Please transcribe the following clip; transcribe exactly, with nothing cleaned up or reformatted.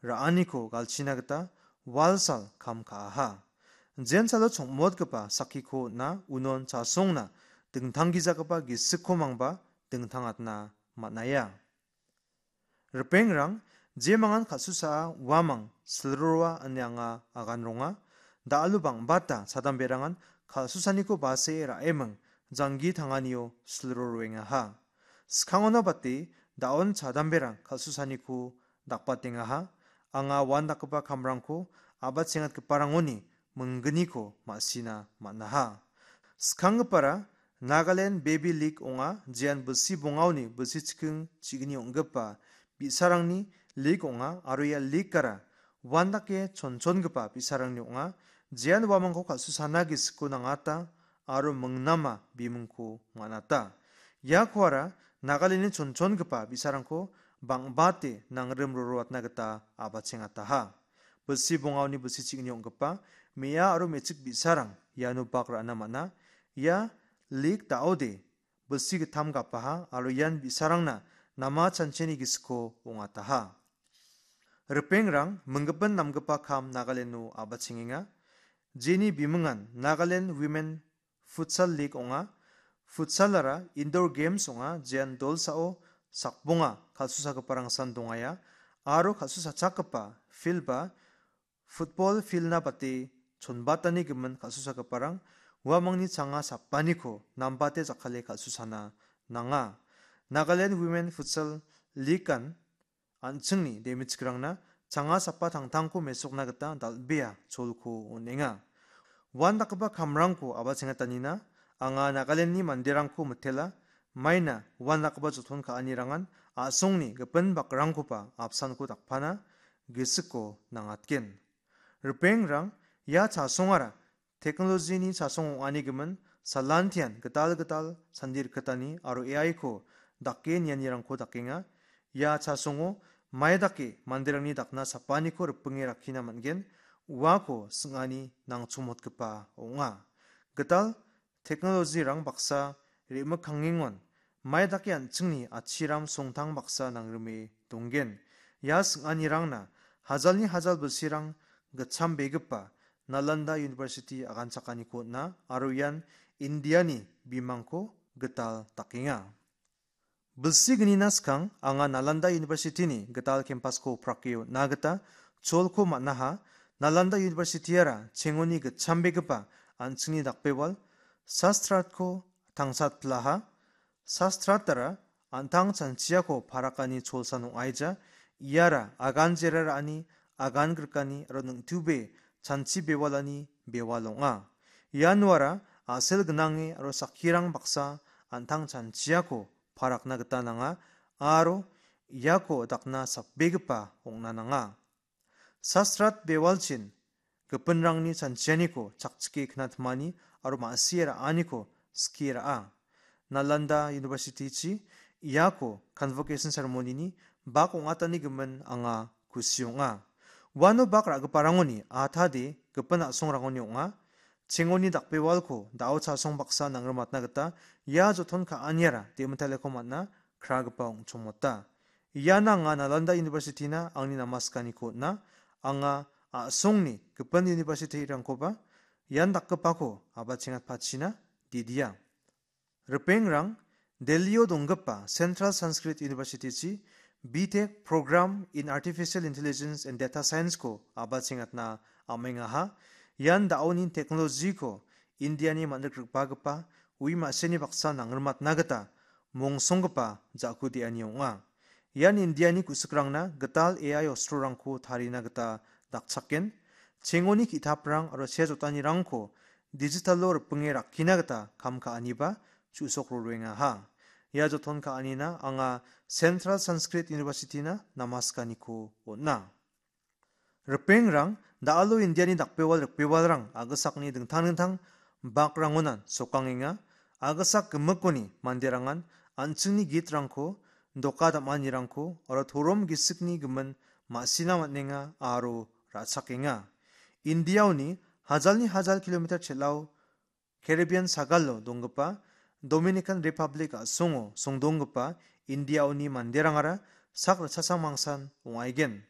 ra·aniko galchina gita walsal kam ka·aha. Jensalo chongmotgipa sakkiko on·a unon chasongna dingtanggijagipa gisikko mangba dingtangatna man·aia. Ripengrang, jemangan kal·susaa uamang silroroa ine anga agan ronga. Da·alo bang·bata chadamberangan kal·susaniko base ra·eming janggi tanganio silroroengaha. Skangona bate da·on chadamberang kal·susaniko dakbatengaha. Anga uandakgipa kamrangko a·bachengatgiparangoni minggniko ma·sina man·aha. Skanggipara Nagaland Baby League ong·a, jean bilsi bongaoni bilsi chiking chigni ong·gipa bi·sarangni league ong·a aro ia league-ara uandake chonchongipa bi·sarangni ong·a, jean uamangko kal·susana gisiko nangata aro mingnama bimingko man·ata. Iakoara Nagaland-ni chonchongipa bi·sarangko bang·bate nangrim roroatna gita a·bachengataha. Bilsi bongaoni bilsi chigni ong·gipa me·a aro me·chik bi·sarang iano bak ra·na man·a. Ia league da·ode bilsi gittam gapaha aro ian bi·sarangna nama chancheni gisiko ong·ataha. Ripengrang, minggipin namgipa kam Nagaland-o a·bachengenga. Jeni bimingan Nagaland Women Futsal League ong·a. Futsalara indoor games ong·a, jean dolsao sakbonga kal·susagiparangsan dongaia aro kal·susachakgipa field-ba football field-na bate chonbatani gimin kal·susagiparang uamangni changa sapaniko nambate jakkale kal·susana nanga. Nagaland Women Futsal League-an an·chingni demichikrangna changa sapa tangtangko mesokna gita dal·bea cholko on·enga. Uandakgipa kamrangko a·bachengatanina anga Nagaland-ni manderangko mitela, maina uandakgipa joton ka·anirangan a·songni gipin bakrangkoba apsanko dakpana gisiko nangatgen. Ripengrang, ia chasongara teknolojini chasong ong·ani gimin salantian gital gital sandi rikgitani aro A I-ko dake nianirangko dakenga. Ia chasongo mai dake manderangni dakna sapaniko ripinge rakkina man·gen, uako sing·ani nangchomotgipa ong·a. Gital teknolojirang baksa re·mikkangengon mai dake an·chingni atchiram songtang baksa nangrime donggen. Ia sing·anirangna hajalni hajal bilsirang gitchambegipa Nalanda University aganchakaniko on·a aro ian Indiani bimangko gital dakenga. Bilsi gnina skang anga Nalanda University-ni gital campus-ko prake on·na gita cholko man·aha. Nalanda University-ara chengoni gitchambegipa an·chingni dakbewal Sastratko tangsatpilaha. Sastratara an·tang chanchiako parakani cholsan ong·aija. Iara agan jera ra·ani, agan grikani aro ningtube chanchi bewalani bewal ong·a. Ianuara a·sel gnange aro sakkirang baksa an·tang chanchiako parakna gita nanga aro iako dakna sapbegipa ong·na nanga. Sastrat bewalchin gipinrangni chanchianiko chakchike knatmani aro ma·sie ra·aniko skie ra·a. Nalanda University-chi iako convocation ceremony-ni bak ong·atani gimin anga kusi ong·a. Uano bak ra·giparangoni atade gipin a·songrangoni ong·a. Chengoni dakbewalko da·o chasong baksa nangrimatna gita ia joton ka·aniara demitaleko man·a kragipa ong·chongmota. Ian anga Nalanda University-na angni namaskaniko on·a. Anga a·songni gipin university-rangkoba ian dakgipako a·bachengatpachina didia. Ripengrang, Delhi-o donggipa Central Sanskrit University-chi B Tech Program in Artificial Intelligence and Data Science-ko a·bachengatna am·engaha. Ian da·oni teknolojiko Indiani man·rikrikbagipa ui ma·seni baksa nangrimatna gita mongsonggipa ja·ku de·ani ong·a. Ian Indiani ku·sikrangna gital A I ostrorangko tarina gita dakchaken. Chengoni ki·taprang aro sea jotanirangko digital-o ripinge rakkina gita kam ka·aniba chu·sok roengaha. Ia joton ka·anina anga Central Sanskrit University-na namaskaniko on·a. Ripengrang, da·alo Indiani dakbewal rikbewalrang agisakni dingtang dingtang bakrangonan sokangenga. Agisak gimikoni manderangan an·chingni gitrangko, doka dam·anirangko aro torom gisikni gimin ma·sina man·enga aro ra·chakenga. Indiaoni hajalni hajal kilometer chel·ao Caribbean sagalo donggipa Dominican Republic a·songo songdonggipa Indiaoni manderangara sak ritchasang mangsan ong·aigen.